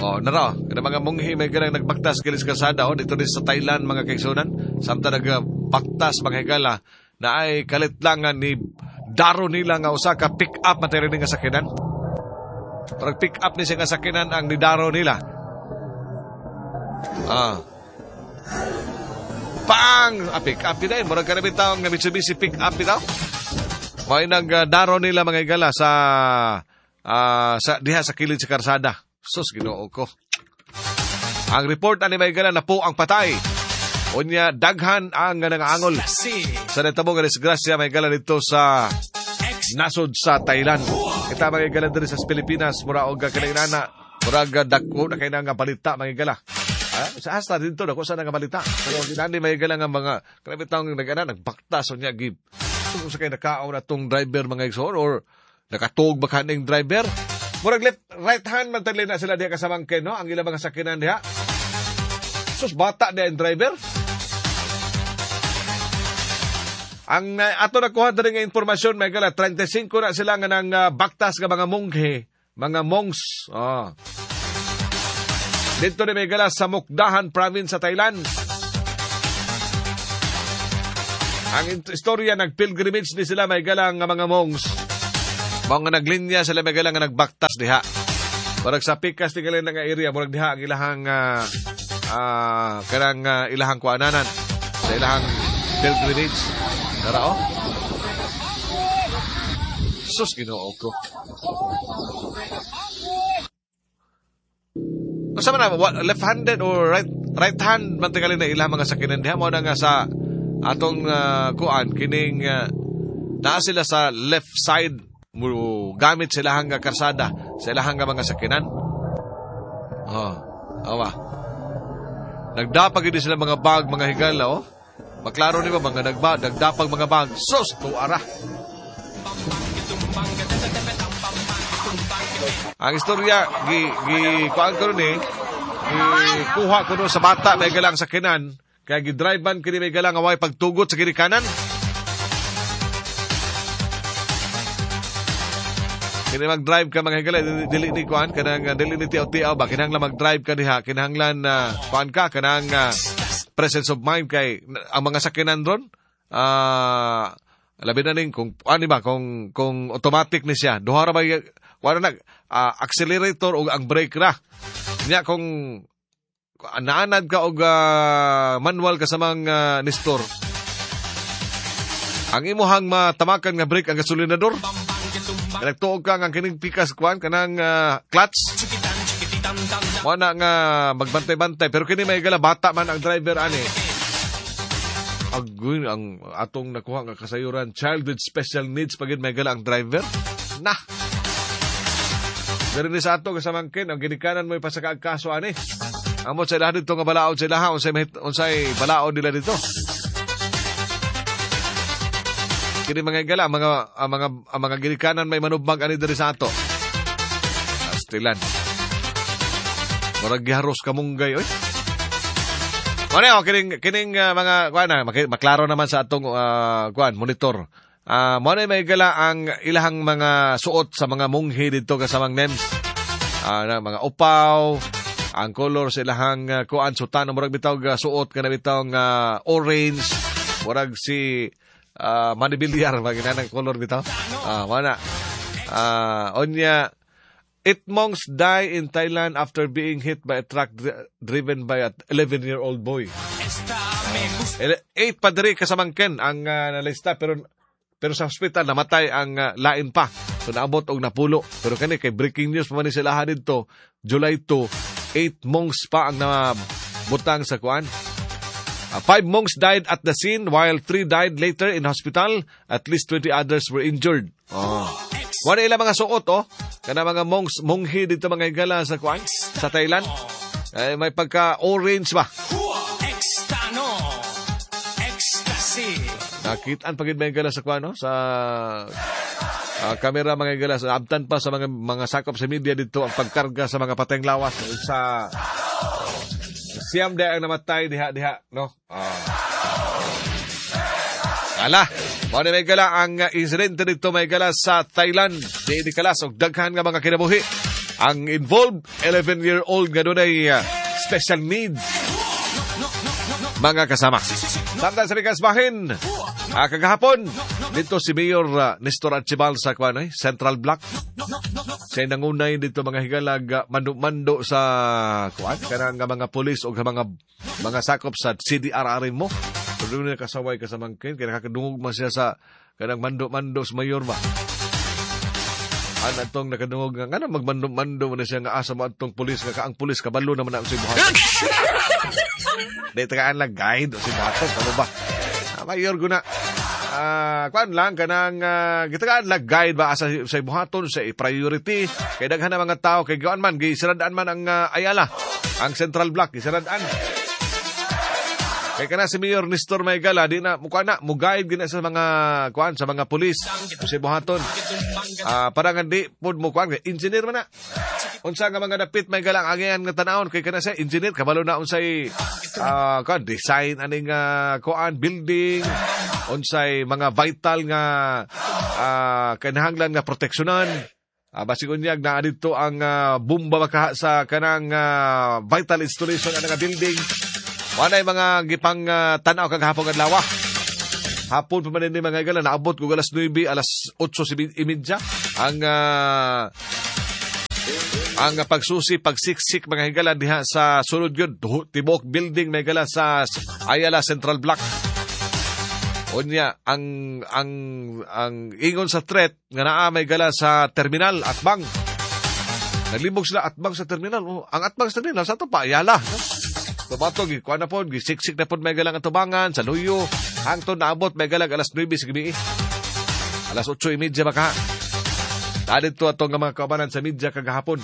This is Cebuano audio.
Oh, nara, kada mga munghi may galang nagbaktas kilis kalsada oh, dito din sa Thailand mga kaigsunan. Samtang nagbaktas mga higala na ay kalitlangan ni daro nila nga usa ka pick up material nga sakyanan. Parang pick up ni siya nga sakyanan ang nidaro nila. Ah. Pang! Ah, pick up nila eh. Murag karami taong nga Mitsubishi pick up bitaw. May nagdaro nila mga higala sa sa diha sa kilid sa karsada. Sus, Ginoo ko. Ang report ani may gala na po ang patay. Unya daghan ang nangaangol sa natabo nga disgrasya may gala dito sa nasod sa Thailand. Kita mga higala diri sa Pilipinas mura og kinainana, murag dako na kay nga balita mga higala. Sa hasta dito dako sa nga balita. Pero dinani may higala nga mga grabe taong nagana nagbaktas unya gib. So sa kay nakaon atong driver mga igsoon or nakatuog ba kaning driver? Murag left right hand man tali na sila diha kasamangken no ang ilang mga sakyanan diha. Sus bata diha ang driver. Ang ato nakuha diri nga impormasyon may gala 35 na sila nga nang baktas nga mga monghe, mga monks. Oh. Dito ni may gala sa Mukdahan province sa Thailand. Ang istorya nag-pilgrimage ni sila may gala nga mga monks. Mga naglinya sila may nga nagbaktas diha. Murag sa pikas tingali nga area, murag diha ang ilahang kanang ilahang kuananan sa ilahang pilgrimage. Tara oh. Sus Ginoo ko. Unsa man na left-handed or right hand man tingali na ilang mga sakyanan diha mo na nga sa atong kuan kining naa sila sa left side gamit sila hanggang karsada, sila hanggang mga sakyanan. Oh, awa. Nagdapag hindi sila mga bag, mga higala, oh. Maklaro ni ba, mga nagdapag mga bag. Sus, tuara. Ang istorya, kuhaan ko rin eh, kuha ko nun sa bata, may galang sakyanan, kaya gidrivean kini may galang away pagtugot sa kinikanan. Kini mag-drive ka mga higala, dili ni kuan kanang dili ni tiaw-tiaw ba kinahanglan mag-drive ka diha, kinahanglan kuan ka kanang presence of mind kay ang mga sakyanan ron labi na ning kung ani ba kung automatic ni siya, duha ra ba kuan na accelerator ug ang brake ra. Nya kung naanad ka og manual kasamang nestor, ang imuhang matamakan nga brake ang gasolinador. Nagtuog ka ang kining pikas kuan kanang clutch. Wala nga magbantay-bantay pero kini may gala bata man ang driver ani. Agoy ang atong nakuha nga kasayuran child with special needs pagid may gala ang driver. Nah. Diri ni sa ato kasamangkin ang ginikanan mo ipasaka kaso ani. Amot sa ilaha dito nga balaod sa ilaha unsay balaod nila dito. Kini mga higala, mga ginikanan may manubag ani diri sa ato. Astilan. Murag giharos kamunggay oy. Mao kining mga kuan na maklaro naman sa atong kuan monitor. Mao na may higala ang ilahang mga suot sa mga munghi didto kasamang NEMS. Na mga upaw, ang color sa ilahang kuan sutano murag bitaw suot kana bitaw nga orange, murag si Manny Villar, maginanang color bitaw. Wala. Onya, 8 monks die in Thailand after being hit by a truck driven by an 11-year-old boy. 8 pa diri kasamangken ang nalista pero sa hospital namatay ang lain pa. So naabot og napulo. Pero kani kay breaking news pa man ni sila didto, July 2, 8 monks pa ang nabutang sa kuan. 5 monks died at the scene while 3 died later in hospital. At least 20 others were injured. Oh. Wala ilang mga suot, oh. Kana mga monks, monghe dito mga higala sa kuan, sa Thailand. Eh, may pagka-orange ba? Nakitaan pagid mga higala sa kuan, no? Sa kamera mga higala. Abtan pa sa mga sakop sa media dito ang pagkarga sa mga pateng lawas sa siyam dahil ang namatay diha, no? Ala, mao ni may gala ang insidente dito may gala sa Thailand. Di kalas og daghan nga mga kinabuhi. Ang involved, 11-year-old nga dunay special needs, mga kasama. Samtang sa Bikas Bahin, kagahapon, dito si Mayor Nestor Archibald sa kuan, eh, Central Block. Siya nangunay dito, mga higalag, mando-mando sa kuan kanang nga mga pulis o mga sakop sa CDRRM mo. Pero doon kasaway kasamangkin kay nakakadungog man siya sa kanang mando-mando sa mayor ba. An atong nakadungog nga ngano magmando-mando man na siya nga asa mo atong pulis nga kaang pulis kabalo naman na sa buhaton. Di tagaan lang guide o si buhaton kamo ba? Mayor guna. Kuan lang kanang gitagaan lang guide ba asa sa buhaton sa priority kay daghan na mga tao kay kuan man gisirad-an man ang Ayala, ang Central Block gisirad-an. Kay kana si Mayor Nestor Maygala di na mukha na mo guide gina sa mga kuan sa mga pulis sa buhaton. Para nga di pud mo kuan engineer man na. Unsa nga mga dapit may galang agian nga tanawon kay kana sa engineer kabalo na unsay kuan design aning kuan building, unsay mga vital nga kinahanglan nga proteksyonan. Basig unyag naa didto ang bomba makaha sa kanang vital installation ana nga building. Walay mga gipang tan-aw kagahapon adlaw. Hapon pa man ni, mga higala, naabot ko alas 9, alas 8:30 ang pagsusi, pagsiksik, mga higala, diha sa sulod yun, tibok building, mga higala, sa Ayala Central Block. Unya, ang ingon sa threat nga naa may gala sa terminal atbang. Naglibog sila atbang sa terminal. Oh, ang atbang sa terminal sa ato pa Ayala. No? So bato gi kuan na pod, gisiksik na pod may galang atubangan sa luyo. Hangtod naabot may galang alas 9 sa gabi. Alas 8:30 maka. Dito atong nga mga kaubanan sa media kagahapon.